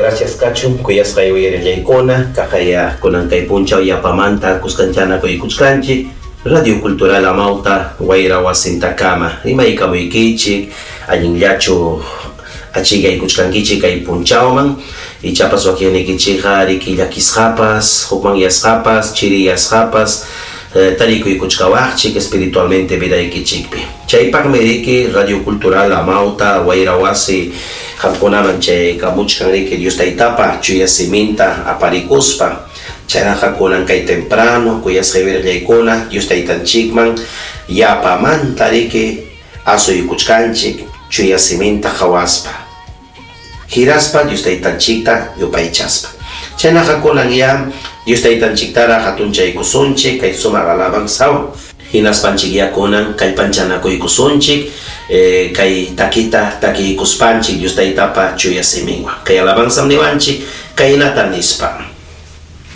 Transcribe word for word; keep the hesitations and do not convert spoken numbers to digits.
Gracias kachun kuyasqay uyarillaykuna kaqaya kunan kay punchaw yapamanta kuskanchana kuykuchkanchik Radio Cultural Amauta wayra wasintakama rimaykamuykichik allinllachu achikaykuchkankichik kay punchawman ichapas wakinnikichikqa riki llakisqapas hukmanyasqapas chiriyasqapas eh, tarikuykuchkawaqchik espiritualmente vidaykichikpi. Chaypaqmi riki Radio Cultural Amauta wayra wasi qamkunaman chaykamuchkan riki Dios Taytapa chuya siminta aparikuspa. Chaynaqa kunan kay temprano kuyasqay wirallaykuna Dios Taytanchikman yapamanta riki asuykuchkanchik chuya siminta qhawaspa, hiraspa Dios Taytanchikta yupaychaspa. Chaynaqa kunan ya Dios Taytanchiktara hatunchaykusunchik kay sumaq alabanzawan, hinaspanchik ya kunan kallpanchanakuykusunchik eh, kay takita takiykuspanchik Dios Taytapa chuya siminwan. Kay alabanzam niwanchik kaynata nispa.